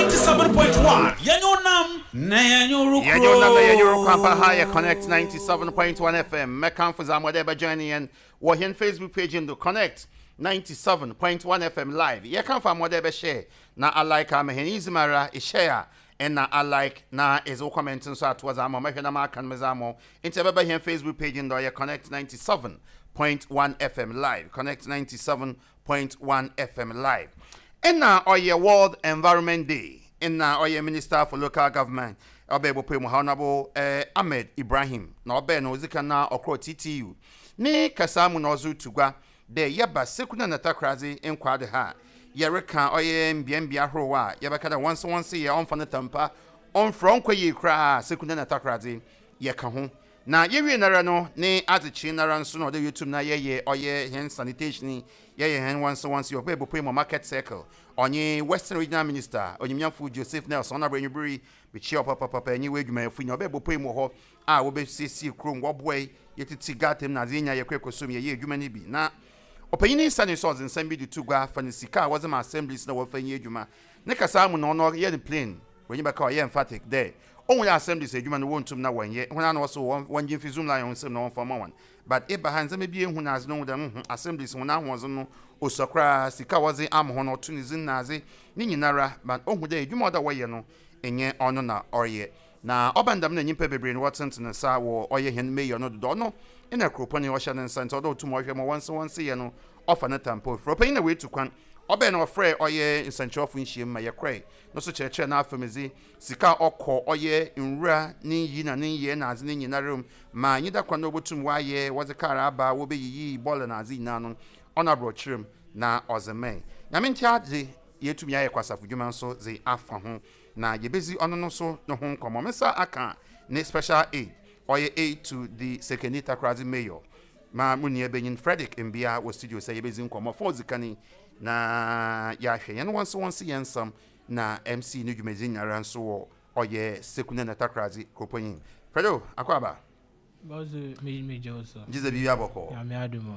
97.1 Yɛnyɛ wo nam na yɛnyɛ wo Yɛnyɛ wo nam na yɛnyɛ wo rokuro. Ampa ha yɛ Connect 97.1 FM. Mɛkamfo dza mo dɛ bɛjoin yɛn wɔ hɛn Facebook page no do Connect 97.1 FM live. Yɛkamfo a mo dɛ bɛshare na a like ama hɛn. Idzi mu ara ishare a nna a like na edze wo comment nso ato hɔ dze ama wo. Mɛhwɛ na maka no medze ama wo. Ntsi ɛbɛba hɛn Facebook page no do ɔyɛ Connect 97.1 FM live. Connect 97.1 FM live. Nna ɔyɛ World Environment Day. Nna ɔyɛ Minister for Local Government ɔbɛɛ bɔpue mu ha Honourable eh, Ahmed Ibrahim na ɔbɛɛ no odzi kan na ɔkrɔɔ TTU ne kasaa mu na ɔdze rutu gua dɛ yɛba Sekuna na Takoradze nkwaado ha a yɛreka ɔyɛ mbeambea ahorow a yɛbɛka dɛ wɔnse wɔnse yɛ ɔmmfa no tampa ɔmmfrɛ ɔnnkɔ yie koraa a Sekuna na Takoradze yɛka ho. Na yewie noara no ne adzekyee noara nso na ɔdɛ yetum na yɛyɛ ɔyɛ hɛn sanitation yi, yɛyɛ hɛn wɔnse wɔnse yi, ɔbɛyɛ bopue mu market circle. Ɔnye Western Regional Minister, Onyimnyamfo Joseph Nelson, Honourable Enyimber yi, mekyia wo papaapa nye w'edwumayɛfo nyina, ɔbɛyɛ bopue mu wɔ hɔ a wobesiesie kurom, wɔboa yɛtsitsi gutter mu na adze yenya yɛkɔ ekosom yɛyɛ edwuma no bi. Na ɔpanyin yi sanee so ɔdze nsɛm bi de to gua fa ne sika a wɔdze ma assemblies na wɔmfa nyɛ edwuma. Ne kasaa mu no ɔno ɔyɛ no plain, w'enyi bɛka ɔyɛ emphatic dɛ Ohun dɛ asɛm de sɛ edwuma no wonntum na wɔnnyɛ, hɔn ara na wɔse wɔngye mfi Zoomlion nsamu na wɔmfa mma hɔn. But eba ha ndzɛmba bi ehu na adze no ohun dɛ mmhmm assemblies hɔn ahoɔdzen no osua koraa, sika a wɔdze ama hɔn ɔto ne dzin na adze ne nyinara but ohun dɛ edwuma a ɔwɔ dɛ wɔyɛ no nnyɛ ɔno na ɔreyɛ. Na ɔba no dɛm na nyimpa beberee no wɔtsentsen nsa wɔ ɔyɛ hɛn mayor no do dɛ ɔno na kuropɔn yi ɔhyɛ ne nsa ntsi ɔwɔ dɛ otum ɔhwɛ ma wɔnse wɔnse yɛ no ɔfa ne tampa ofir. Ɔpanyin na oetu kwan ɔbae na ɔfrɛɛ ɔyɛ nsɛnkyerɛwfo nhyiam ma yɛkɔe no so kyerɛkyerɛɛ n'afamdze. Sika a ɔkɔ ɔyɛ nwura ne nyi na ne nyɛe na adze ne nyinara mu ma nyida kwan na obotum ɔayɛ, wɔdze kaar aba wobeyiyi bɔɔla na adze nyina no, ɔno aborɔkyerɛ mu na ɔdze mae. Nyame ntsi adze yeetum yɛayɛ kwasafo dwuma so dze afa ho na yebedzi ɔno no so no ho nkɔmbɔ. Me nsa akã ne special aide, ɔyɛ aide to the Sekondi Takoradze Mayor, ma mo nua banyin Fredrick Mbia wɔ studio sɛ yebedzi nkɔmbɔ fa odzi kan yi na yɛahwɛ hɛn wɔnse wɔnse hɛn nsɛm Na MC no dwumadzi nyinara nso wɔ ɔyɛ Sekunde na Takoradi kuropɔn yi. Fredo, akɔ aba? Bɔso me me gye wo so. Gye dɛ biribi abɔkɔ. Nyame adom o.